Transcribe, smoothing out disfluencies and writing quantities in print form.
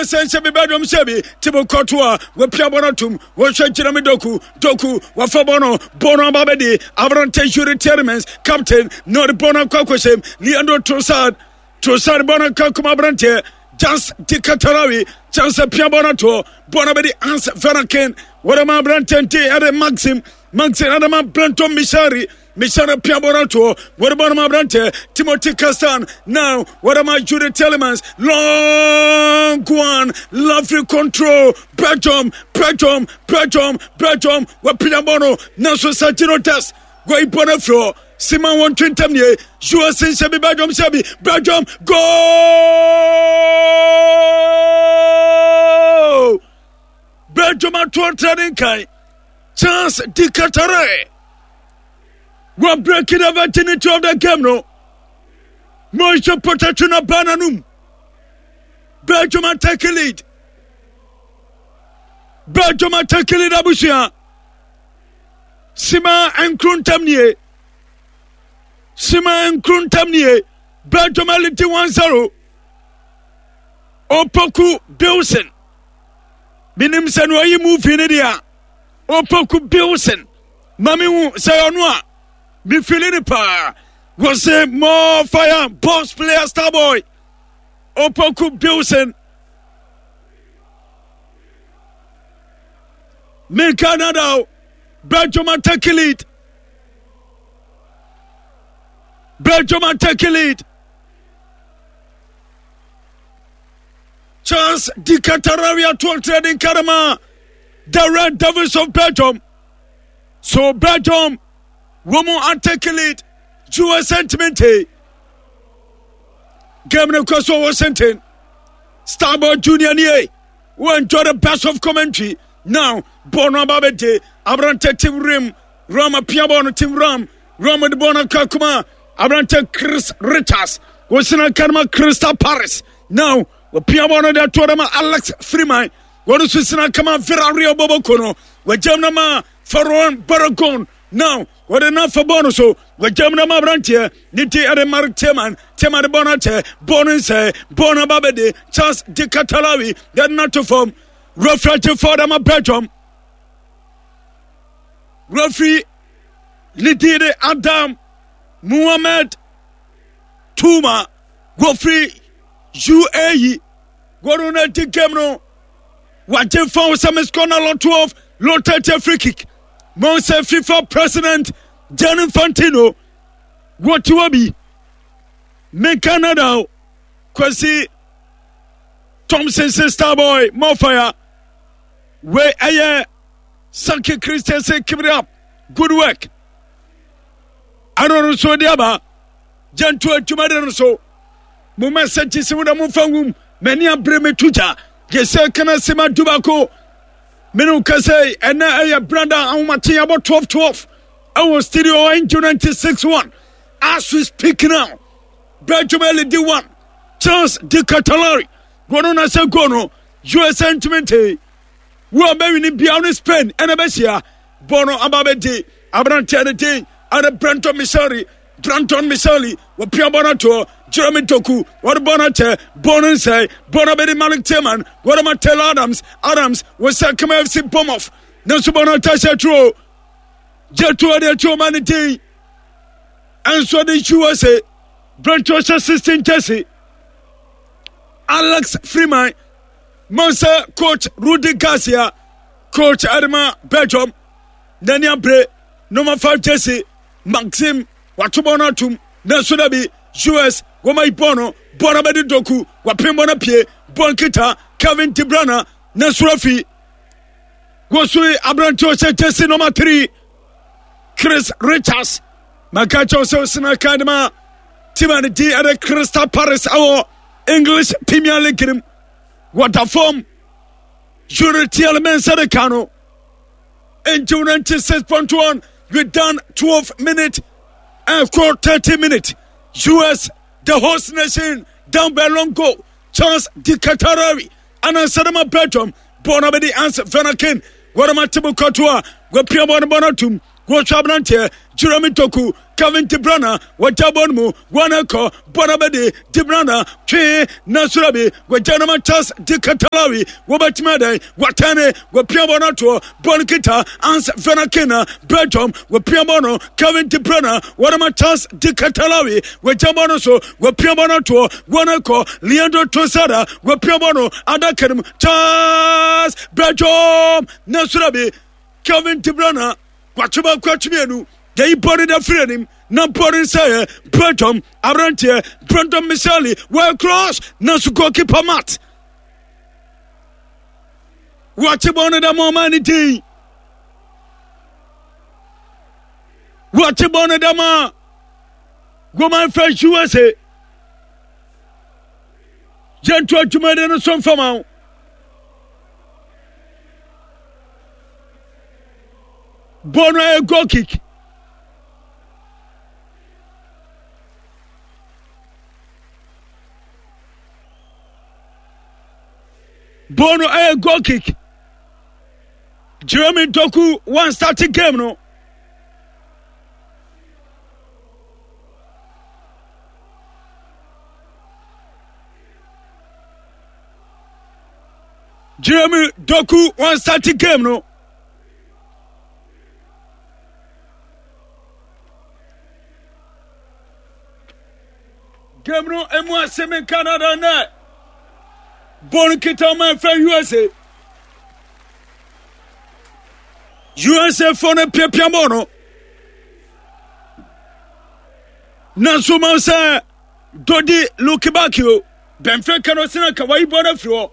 USA nhyɛ bi Belgium hyɛ bi Thibaut Courtois wapia bɔ no atom wɔhwɛ Jeremy Doku Doku wafa bɔ no bɔ no aba bɛdi aberante Yuri Tielemans captain na ɔde bɔ no akɔ akɔhyɛm Leandro Trossard Trossard bɔ no akɔ akɔma aberanteɛ Jans Di Katarawi Jans apia bɔ no atoɔ bɔ no bɛdi Hans Vanaken wɔde ma aberanteɛ nti ɛde Maxim Maxim ɛde ma Brenton Mishari Mishari apia bɔ no atoɔ wɔde bɔ no ma aberanteɛ Timothy Castan now wɔde ma Jude Tielemans long one lovely control Belgium Belgium Belgium Belgium wɔapia bɔ no nanso Sergino Dest Goi bɔ no afiri hɔ sima wɔn twe ntam nie USA nhyɛ bi Belgium hyɛ bi Belgium goal Belgium ato ɔtra ne nkan Chance di Katare wɔ breaking the virginity of the game no Moise Potato na ba n'anum Belgium atake lead Belgium atake lead abusua Sima nkuro ntam nie. Sima nkuro ntam nie. Belgium alidi 1-0. Opoku Bilson. Menim sɛ no ɔyi movie no deɛ a. Opoku Bilson. Ma me hu sɛ ɔno a. Me feeling no paa. Wɔse more fire boss player star boy. Opoku Bilson. Me Canada Belgium take lead. Belgium take lead. Charles Di Catararia to trading Karama. The Red Devils of Belgium. So Belgium wɔn atake lead. Jew sentiment. Game no kɔ so Washington. Starboy Junior nie. Wo enjoy the best of commentary now. Bɔɔl no aba abɛgye aberante Tim Rim. Ram apia bɔɔl no Tim Ram. Ram de bɔɔl no aka kuma aberante Chris Richards. Wɔsina aka no ma Crystal Paris. Now wɔpia bɔɔl no de ato ma Alex Freeman. Wɔn nso sina aka ma Villarreal bɔbɔko no. Wɔgyam no ma Ferran Baragon. Now wɔde no afa bɔɔl no so wɔgyam no ma aberanteɛ ne ti ɛde Mark Tieman Tieman de bɔɔl no akyɛ bɔɔl no nsɛe bɔɔl no aba bɛde Charles de Catalawi yɛde no ato fam referee agye fɔɔ dama Belgium referee ne din de Adam Muhammad Tuma wɔfiri UAE wɔn no adi game no wagye fa wo sɛ miss corner lot 12 lot 30 free kick mo sɛ fifa president Gianni Infantino wɔte hɔ bi me Canada o Kwasi Thompson sister boy more fire wei ɛyɛ Saki Christian say keep it up good work ɛno no nso de aba gyanto adwuma de no so mo message si mo na mo fa nwum m'ani abere me to gya yɛsɛ kana se ma dubako mene wo kasa yi ɛnɛ ɛyɛ brada ahomakye abɔ 12 12 ɛwɔ studio angel 96 1 as we speak now Belgium led 1 Charles de Catalari wɔno na sɛ goal no USA ntumi ntee wo a bɛwini biara ne Spain ɛna bɛhyia bɔɔl no aba bɛdi aberanteɛ no din ɛne Brenton Missouri Brandon Misali wɔpia bɔ no atoɔ Jeremy Doku wɔde bɔ no akyɛ bɔ no nsɛe bɔ no abɛdi Malik Tillman wɔde ma Taylor Adams Adams wɔsɛ kama FC Bournemouth nanso bɔ no atahyɛ turo gye tuo de atuo ma ne din ɛnso de USA Brentford hyɛ 16 jersey Alex Freeman Mansa coach Rudy Garcia coach Adema Belgium n'ani abere number 5 jersey Maxim wato bɔɔl no atom nanso da bi US wɔma yi bɔɔl no bɔɔl no abɛde Doku wapem bɔɔl no apue bɔɔl nkita Kevin De Bruyne nanso afi wɔso yi aberante ɔhyɛ jersey number 3 Chris Richards maka kyɛw sɛ ɔsena kan de ma team a ne din ɛde Crystal Palace ɛwɔ English Premier League no mu wɔda fam Yuri Tielemans de ka no Angel 96.1 we done 12 minutes and 30 minutes US the host nation down by long goal Charles Di Catarawi anansɛ ma Belgium bɔɔl no abɛdi Hans Vanaken wɔde ma Thibaut Courtois wɔapia bɔɔl no bɔɔl no atum. Wɔhwɛ aberanteɛ Jeremy Doku, Kevin De Bruyne, wɔgya bɔ no mu, wɔn kɔ, bɔ no bɛde, De Bruyne twe na soro bi, wɔgya no ma Charles De Ketelaere, wɔbɛtumi adɛn, wɔatɛne, wɔpia bɔ no atoɔ, bɔ no kita, Hans Werner Kina, Belgium, wɔpia bɔ no, Kevin De Bruyne, wɔde ma Charles De Ketelaere, wɔgya bɔ no so, wɔpia bɔ no atoɔ, wɔn kɔ, Leandro Trossard, wɔpia bɔ no, adaka no mu, Charles Belgium, na soro bi, Kevin De Bruyne, Kwakye baako akyi mmienu yɛyi bɔne da firi anim na bɔne nsa yɛ Belgium aberanteɛ Brandon Miceli wɔyɛ cross nanso goalkeeper Matt wɔakye bɔne da ma ɔma ne din wɔakye bɔne da ma Roman fɛ USA yɛnto adwumadi no so mfama wo. Bɔɔl no yɛ goal kick. Bɔɔl no yɛ goal kick. Jeremy Doku one starting game no. Jeremy Doku one starting game no. Game no emu asɛm in Canada nɛ. Bɔɔl nkita ɔman fɛ USA. USA fo no piapia bɔɔl no. Nanso ma sɛ Dodi Lukebakio Benfica no sena ka wayi bɔɔl no afiri hɔ.